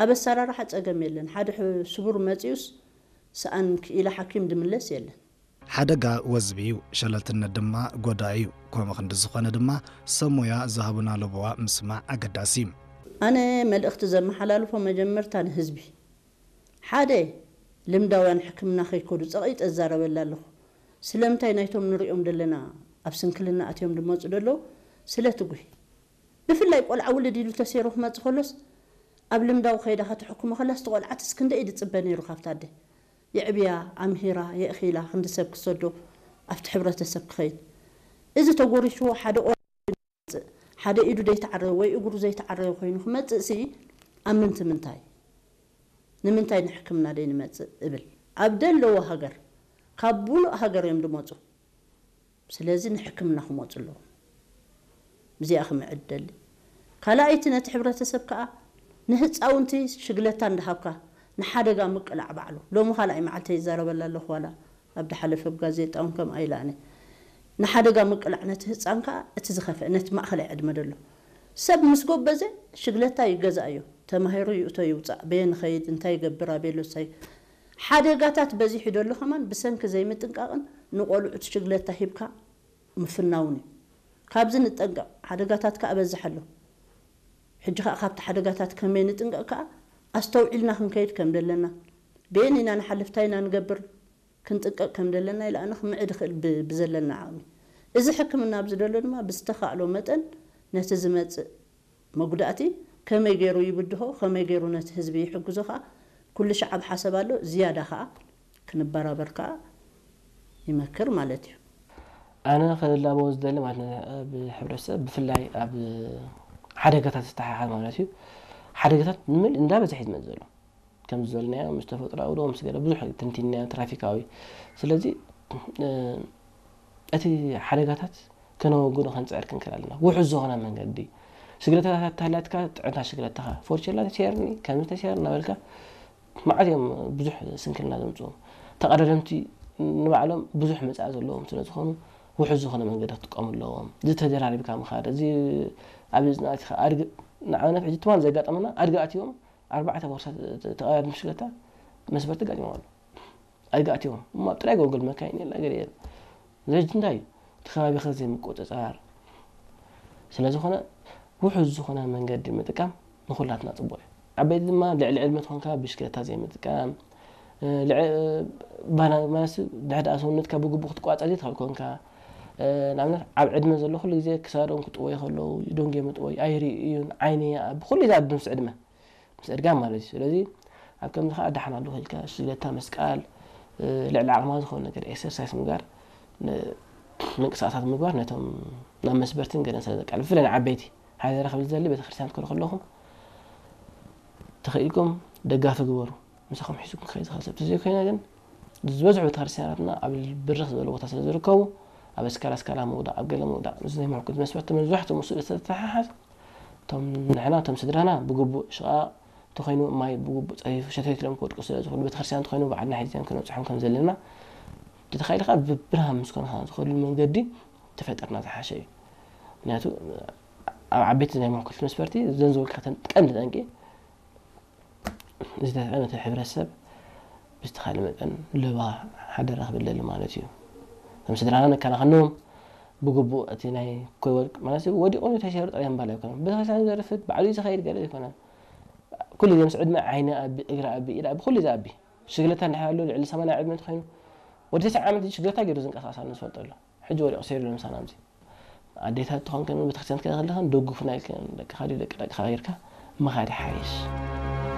ኣብ ኣሰራርሓ ጸገም የለን። ሓደ ሕ- ስቡር መጺኡስ ሰኣን ክኢላ ሓኪም ድምለስ የለን። ሓደጋ ወዝቢ እዩ፣ ሸለልትነት ድማ ጎዳኢ እዩ። ከምኡ ክንዲ ዝኾነ ድማ ሰብ ሞያ ዝሃቡና ለበዋ ምስማዕ ኣገዳሲ እዩ። ኣነ መልእኽቲ ዘመሓላልፎ መጀመርታ ንህዝቢ ሓደ ልምዳውያን ሕክምና ከይከዱ ጸቒጠ እዛረበላ ኣለኹ። ስለምንታይ ናይቶም ንሪኦም ዘለና ኣብ ስንክልና ኣትዮም ድመፁ ደለዉ ስለ ትጉሂ። ብፍላይ ቆልዓ ውልድ ኢሉ ተሰይሩ ክመፅእ ከሎስ ኣብ ልምዳዊ ከይዳ ከተሕክሞ ከላስ እቲ ቆልዓትስ ክንደይ ድፅበ ነይሩ ካብታ ኣደ። የዕብያ፣ ኣምሂራ፣ የእኺላ ክንዲ ሰብ ክሰዶ ኣብቲ ሕብረተሰብ ክኸይድ። እዚ ተጎሪሽዎ ሓደ ቆልዓ ይመፅእ፣ ሓደ ኢዱ ዘይተዓረየ ወይ እግሩ ዘይተዓረየ ኮይኑ ክመፅእ ሲ ኣብ ምንቲ ምንታይ? ንምንታይ ንሕክምና ደይ ንመፅእ እብል። ኣብ ደለዎ ሃገር ካብ ሙሉእ ሃገር እዮም ድመፁ። ስለዚ ንሕክምና ክመፁ ኣለዎም። እዚኣ ክምዕድ ደሊ። ካልኣይቲ ነቲ ሕብረተሰብ ከዓ ንህፃውንቲ ሽግለታ እንዳሃብካ ንሓደጋ ምቅላዕ ባዕሉ። ሎሚ ካልኣይ መዓልተ ይዛረበላ ኣለኹ ዋላ ኣብ ድሓለፈ ብጋዜጣ እውን ከምኣ ኢላነ። ንሓደጋ ምቅላዕ ነቲ ህፃን ከዓ እቲ ዝኸፍአ ነቲ ማእኸላይ ዕድመ ደሎ ሰብ ምስ ጎበዘ ሽግለታ ይገዛእዮ። ተማሂሩ ይእቶ ይውፃእ በየ ንኸይድ እንታይ ይገብር ኣበየሎሳይ ሓደጋታት በዚሑ ደሎ ከማን ብሰንኪ ዘይምጥንቃቕን ንቆልዑ ሽግለታ ሂብካ ምፍናውን እዩ። ካብዚ ንጠንቀቕ። ሓደጋታት ከዓ በዝሕ ኣሎ። ሕጂ ከዓ ካብቲ ሓደጋታት ከመይ ንጥንቀቕ ከዓ ኣስተውዒልና ክንከይድ ከም ዘለና በየን ኢና ንሓልፍ ታይ ኢና ንገብር ክንጥንቀቕ ከም ዘለና ኢለ ኣነ ክምዕድ ይኽእል ብ- ብዘለና ዓቕሚ። እዚ ሕክምና ኣብዚ ደሎ ድማ ብዝተኻእሎ መጠን ነቲ ዝመፅእ መጉዳእቲ ከመይ ገይሩ ይብድሆ ከመይ ገይሩ ነቲ ህዝቢ ይሕግዞ ከዓ ኩሉ ሻዕ ኣብ ሓሰብ ኣሎ። ዝያዳ ከዓ ክንበራበር ከዓ ይመክር ማለት እዩ። ኣነ ክላበዎ ዝደሊ ማለት ን- ኣብ ሕብረተሰብ ብፍላይ ኣብ ሓደጋታት ዝተሓሓዝ ማለት እዩ። ሓደጋታት ንምል እንዳበዝሐ እዩ ዝመፅእ ዘሎ። ከም ዝበልናዮ ምስ ተፈጥሮኣዊ ዶ ምስ ገለ ብዙሕ ትንቲንናዮ ትራፊካዊ። ስለዚ እ፣ እቲ ሓደጋታት ከነወግዶ ከንፅዕር ክንክእል ኣለና። ውሑስ ዝኾነ መንገዲ ሽግለታታት ተሃላትካ ጥዕና ሽግለታኻ ፎርቸላ ተሰየርኒ ከምዚ ተሰየር እናበልካ መዓት እዮም ብዙሕ ስንክልና ዘምፅኡ። ተቐዳደምቲ ንባዕሎም ብዙሕ መፃኢ ዘለዎም ስለ ዝኾኑ ውሑስ ዝኾነ መንገዲ ክጥቀሙ ኣለዎም። ዝተደራሪብካ ምኻድ እዚ ኣብ ዝናእትኻ ኣድግ ንኣብነት ሕጂ ትማን ዘጋጠመና ኣድጊ ኣትዮም ኣርባዕተ ቦርሳ ተቐዳድም ሽግለታ መስበርቲ ጋጢሞም ኣሎ። ኣድጊ ኣትዮም እሞ ኣብ ጥራይ ጎልጎል መካይን የላ ገለ የለ። ዘጅ እንታይ እዩ እቲ ከባቢኻ ዘይምቁፅፃር ስለ ዝኾነ ውሑስ ዝኾነ መንገዲ ምጥቃም ንኹላትና ፅቡቕ እዩ። ዓበይቲ ድማ ልዕሊ ዕድመ ትኾንካ ብሽክለታ ዘይምጥቃም እ፣ ልዕ- ባና- ማለት ድሕዳ ሰውነትካ ብግቡእ ክትቋፀር ዘይትኽእል ኮንካ እ፣ ንኣብነት ኣብ ዕድመ ዘሎ ኩሉ ግዜ ክሳዶም ክጥወዩ ከለዉ ደንጎ ምጥወይ ኣይርእዩን ዓይኒ ይኣቢ ኩሉ ይዛቢ ምስ ዕድመ ምስ እድጋ ማለት እዩ። ስለዚ ኣብ ከምዚ ከዓ ደሓን ኣለኹ ኢልካ ሽግለታ ምስቃል እ፣ ልዕሊ ዓቕማ ዝኾነ ነገር ኤክሰርሳይስ ምግባር ን- ምንቅስቃሳት ምግባር ነቶም ናብ መስበርትን ገለን ስለ ዘቃልል ብፍላይ ንዓበይቲ ሓደራ ክብል ዝደሊ ቤተክርስትያን ትከዱ ከለኹም ተኽኢልኩም ደጋፊ ግበሩ። ምሳኹም ሒዝኩም ክኸይድ ዝኽእል ሰብ ተዘይኮይነ ግን ዝበዝሑ ቤተክርስትያናትና ኣብ ብርኽ ዝበለ ቦታ ስለ ዝርከቡ ኣብ ኣስካላ ኣስካላ ምውዳቕ ኣብ ገለ ምውዳቕ እዚ ናይ ምሕኩት መስፈርቲ መብዛሕትኡ ምስኡ ዝተተሓሓዝ እቶም ንሕና እቶም ስድራና ብግቡእ ሽቓቕ እንተኾይኑ ማይ ብግቡእ ፀፊፉ ሸተት ኢሎም ክወድቁ ስለ ዝኽእሉ ቤተክርስትያን እንተኾይኑ ባዕልና ሒዝናዮም ክነብፅሖም ከም ዘለና እንተተኻኢሉ ከዓ ብብርሃን ምስ ኮንካ ዝኸድሉ መንገዲ ተፈጠርና ዝሓሸ እዩ። ምክንያቱ ኣብ ዓበይቲ ናይ ምሕኩት መስፈርቲ ዘን ዝበልካ ተን ቀንዲ ጠንቂ ዝተጠቐመ እቲ ሕብረተሰብ ብዝተኻለ መጠን ለባ ሓደራ ክብል ደሊ ማለት እዩ። ከም ስድራና ነከናኸኖም ብግቡእ እቲ ናይ ኮይወርቅ ማለት ወዲቑ ተሸሩ ጥራይ ምባል ኣይኮነን። ቤተክርስትያን ዘርፍድ ባዕሉ እዩ ዝኸይድ ገለ ኣይኮነን። ኩሉ ግዜ ምስ ዕድመ ዓይኒ ኣቢ እግሪ ኣቢ ኢድ ኣቢ ኩሉ እዚ ኣቢ ሽግለታ እንድሕር ኣሎ ልዕሊ ሰማንያ ዕድመ እንተኾይኑ ወዲ ተስዓ ዓመት ሽግለታ ገይሩ ዝንቀሳቀስ ኣሎ ዝፈልጦ ኣሎ። ሕጂ ወዲቑ ሰይሩ ኣሎ ምሳና ኣብዚ ኣዴታት ትኾን ከን ቤተክርስትያን ትከደ ከለኸን ደጉፍና ኢልከን ደቅኻ ድዩ ደቂ ደቅኻ ጌርካ ምኻድ ይሓይሽ።